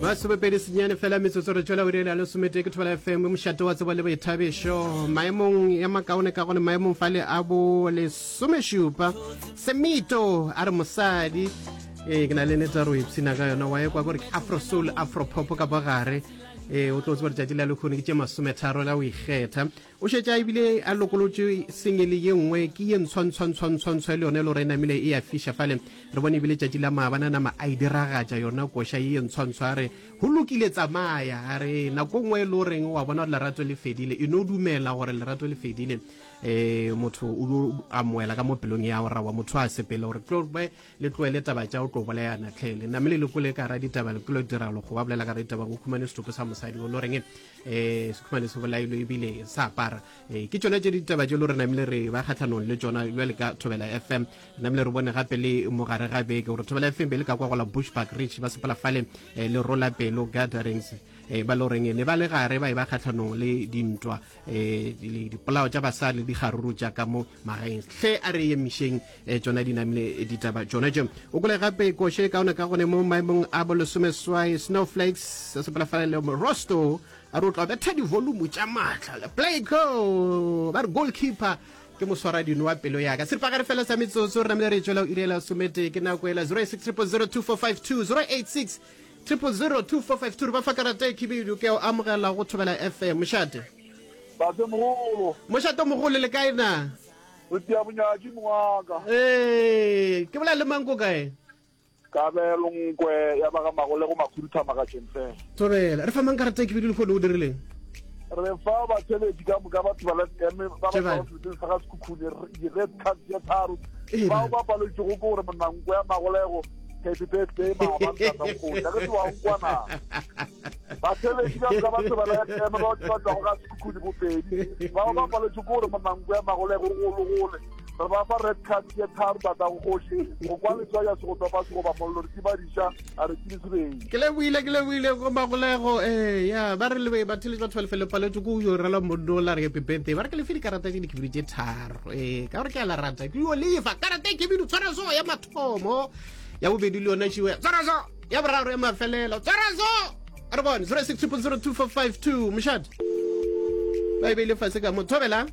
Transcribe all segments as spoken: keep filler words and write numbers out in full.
Masomepedi senyane fela metsotso re tšwela uri ya lesometee ke Thobela F M, mošate wa tsebo le boithabišo. Maemong ya makaone ka gone maemong fale a bo lesomešupa. Semito a re mosadi ee ke na le nete gore o ipshina ka yona wa ekwa kore ke afro soul afro pop ka bogare. Ee o tlo tseba letšatši la lekgono ke tše masometharo la o ikgetha. O šetše a ebile a lokolotše sengele ye nngwe ke ye ntshwantshwantshwantshwantshwa le yone e le gore e namile e a fiša fale. Re bone ebile tšatši la maabane a nama a e diragatša yona koša ye ye ntshwantshwa a re go lokile tsamaya a re nako nngwe e le goreng wa bona gore lerato le fedile e no dumela gore lerato le fedile um motho o dio amoela ka mo pelong ya go rawa motho a sepele gore tlo be le tloele taba tša o tlo bolayana tlhe le namile le kole ka ra ditaba le kolo diralo go ba bolela ka ra ditaba go khumane setopo sa mosadi o le goreng um se khumane se bolailwe ebile sa apara. um ke tšona tše ditaba tše le gore namile re ba kgatlhanong le tšona bjale ka Thobela F M. Namile re bone gape le mogare ga beke gore Thobela F M be le ka kwa go la Bushbuck Ridge ba sepela fale eh, le rola pelo gatherings eh, ba le goreng ne ba le gare ba e ba kgatlhanong le dintwa eh, le dipolao tša basadi le dikgaruru tša ka mo magaeng. Hle a re emišeng eh, tšona di namile ditaba tšona tše. O kole gape koše kaone ka gone mo maemong a bo lesomeswai Snowflakes se sepela fale le Rosto a re o tla betha di-volume tša maatla le Playco ba re goalkeeper ke moswaradino wa pelo yaka. Seripagare fela sa metsotso re namile re tšwela iri ya lesometee ke nako ela zero six triple zero two four five two zero eight six triple zero two four five two re ba fa karata e khibidu ke o amogela go Thobela F M. Mošate Tate mogolo. Mošate mogolo le kae na? Re tia bonyatši mongwaka. Ee, ke bolela le mang ko kae? Kabelo Nkwe ya ba ga Magolego Makhuduthamaga Tšenfela. Thobela, re fa mang karata e khibidu le kgone o dirileng? Re fa batheletši ka moka ba Thobela F M ba ba tšwago seleteng sa ga Sekhukhune di-red card tše tharo. Bao ba paletšego ke gore monna Nkwe ya Magolego happy birthday maabane tata nkgoši a ke se wa nkwa na. Batheletši ka moka ba Thobela F M ba ba tšwago ga Sekhukhune bopedi bao ba paletšego ke gore monna Nkwe ya Magolego gologole re ba fa red card tše tharo tata kgoši go kwa letswai ya se go topa se goba mollo re tibadiša a re tsebe sebeng. Ke lebohile ke lebohile go Magolego eh ya ba re le batheletši ba Thobela F M le paletšwe ke yo rela monno la re happy birthday ba re ke lefe dikarata tše dikhibidu tše tharo eh ka gore ke a la rata ke yo lefa karata e khibidu tshwara so ya mathomo ya bobedi le yona šiwe tshwara so ya boraro ya mafelelo tshwara so a re bone zero six triple zero two four five two mošate ba e beile fase ka mo Thobela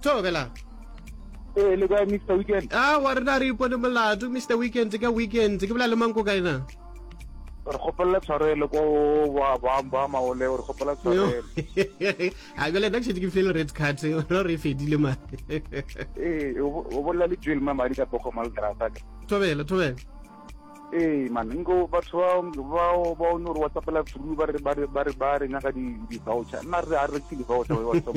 Thobela. Ee, le kae Mister Weekend? Ah, wa rena re ipone molato Mister Weekend ka weekend ke bolela le mang ko kae na? Re kgopelela tshwarelo ko ba ba ba maole re kgopela tshwarelo. A bjale nna ke šetše ke file red card re re fedile ma. Ee, o bolela le Joel Mamadi ka Pogo Maldrata. Thobela, Thobela. Ee man, nko batho ba ba ba o no re WhatsAppela through ba re ba re ba re ba re nyaka di di voucher. Nna re a re rekise di voucher ba WhatsApp.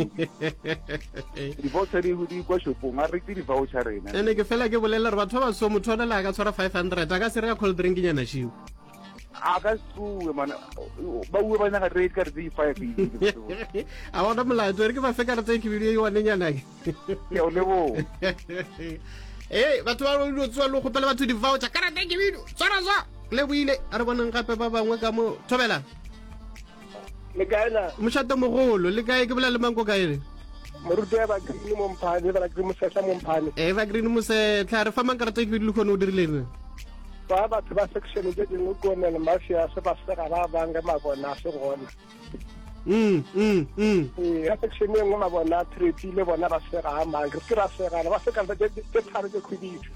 Di voucher di di kwa shopong, a re rekise di voucher rena. Ene ke fela ke bolela re batho ba so motho ona le a ka tshwara five hundred a ka se reka cold drink nyana šiu. A ka tsoe man, ba bue ba nyaka rate ka re tse five. A bona molato re ke ba fe karata e khibidu e one nyana ke. Ke o leboha. Ee batho ba dilo tsoa le kgopela batho di-voucher karata e khibidu tshwara so le boile a re boneng gape ba bangwe ka mo Thobela. Le kae na? Mošate mogolo le kae ke bolela le mang ko kae le? Moruti wa Green mo Mphane, ba Green Mosetlha mo Mphane. Ee ba Green Mosetlha re fa mang karata e khibidu le kgone o dirileng? Ba batho ba section tše dingwe ko nele mafia se ba sega ba bang ge mabona a se gona. Mm, mm, mm. Ee, ka section e nngwe mabona a trepile bona ba sega a mang re se ke ra segana ba seka tše tharo tše khwibidu.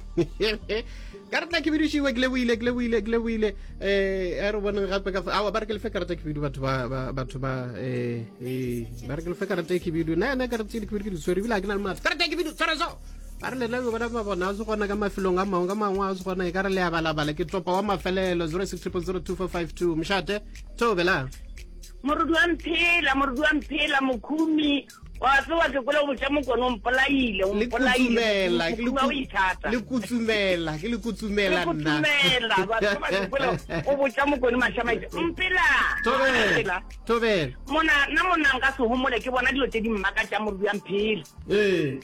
Karata khibidu šiwe ke lebohile ke lebohile ke lebohile eh a re boneng gape ka awa ba re ke lefe karata khibidu batho ba batho ba eh eh ba re ke lefe karata khibidu nna nna karata tše dikhibidu ke di tshwere ebile ga ke na le matla karata khibidu tshwara so ba re lena bona mabona a se gona ka mafelong a mangwe ka mangwe a se gona e ka re le a balabala ke topa wa mafelelo zero six triple zero two four five two mošate Thobela. Moruti wa mphela, moruti wa mphela, mokhumi wa tsewa ke kwele go botša mokone o mpolaile, o Le mpolaile, kutsumela, ke le mokhumi wa o ku- ithata. le kutsumela, ke le kutsumela Le nna. kutsumela, batho ba ke kwele o botša mokone mašamaite, mpela, Thobela, mpela. Thobela. Mona, nna monna nka se homole ke bona dilo tše di mmakatšang moruti wa mphela. Ee.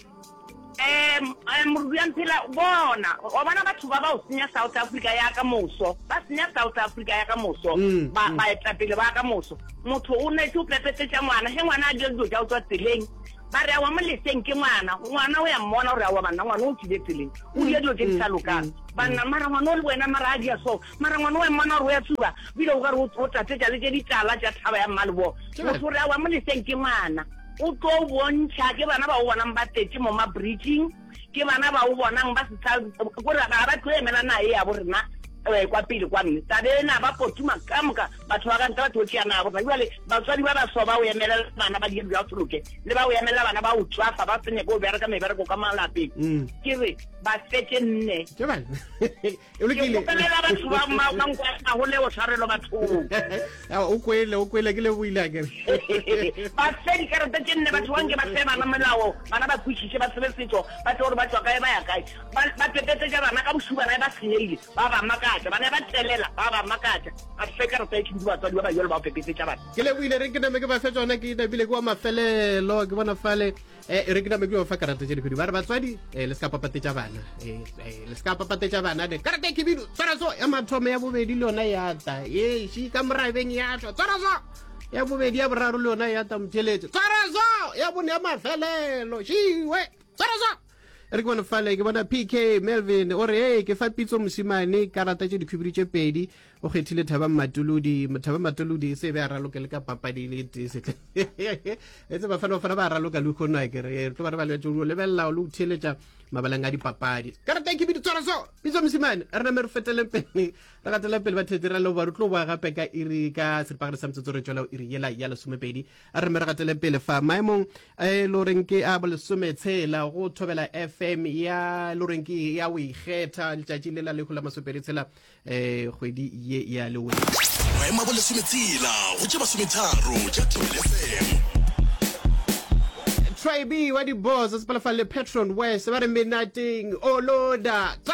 Um moruti wa mphela bona wa bona batho ba ba o senya South Africa ya ka moso ba senya South Africa ya ka moso Mm, ba mm. baetapele ba ka moso motho o netse o pepetetša ngwana ge ngwana a dira dilo tša o tswa tseleng Ba re awa mo leseng ke ngwana, ngwana o ya mmona gore awa banna ngwana o tswile tseleng, o dia dilo tše di sa lokang. Banna mara ngwana o le wena mara a dia so, mara ngwana o ya mmona gore o ya tsuba, bile o ka re o tatetša le tše ditala tša thaba ya Mmaleboa. Motho o re awa mo leseng ke ngwana, o tlo bontšha ke bana ba o bonang ba tletše mo mabridging, ke bana ba o bonang ba se sa kore ga ba tlo emela naye ya bo rena eh, kwa pele kwa mme tabe ena ba potuma ka moka batho ba ka ntle ba tlo tšea nabo rena. Jwale batswadi ba baso ba o emelela bana ba dira bja soloke le ba o emelela bana ba o tswafa ba se nyake go bereka mebereko ka malapeng. Mm. Ke re ba fetše nne. Ke bana. E Ke lokile. kgopelela batho ba ma- ba nkwa go tshwarelo bathong. Ah, o kwele, o kwele ke leboile akere. Ba fe dikarata tše nne batho banke ba fe bana melao, bana ba kwešiše, ba tsebe setšo, ba tsebe gore ba tšwa kae ba ya kae. Ba ba pepetetša bana ka bošuba bana ba senyegile, ba ba makatša, bana ba telela, ba ba makatša. Ba fe karata e khibidu batswadi ba ba jalo ba pepetetša bana. Ke leboile re ke name ke ba fe tsona ke napile ke wa mafelelo ke bona fale eh re ke name ke ba fa karata tše dikgwedi ba re batswadi eh le se ka papatetša bana eh eh, le se ka papatetša bana ne karata e khibidu tshwara so ya mathomo ya bobedi le yona ya ta ye shi ka morabeng ya tšwa tshwara so ya bobedi ya boraro le yona ya ta motheletše tshwara so ya bone ya mafelelo šiwe tshwara so re ke bone fale ke bona P K Melvin o re hey ke fa Pitso Mosimane karata tše dikhubidu tše pedi, o kgethile Thaba Matolodi. Thaba Matolodi se be a raloke le ka papadi le tee setle etse Bafana Bafana ba raloka le kgono a kere re tlo ba re ba letse o lebelela le o theeletša mabaleng a dipapadi. Karata e khibidu tshwara so Pitso Mosimane. Re name re feteleng pele re gatelang pele batheetsi ra leboga re tlo boa gape ka iri ka seripagare sa metsotso re tšwela iri yela ya lesomepedi. A re me re gateleng pele fa maemong e le goreng ke a bolesometshela go Thobela F M ya le goreng ke ya o ikgetha letšatši le la lehu la masomepedi tshela um kgwedi ye ya lewe. Maemo a bolesometshela go tše masometharo tša Thobela F M. Tribe wa di-boss sepela fa le Patron West ba re menateng oloda.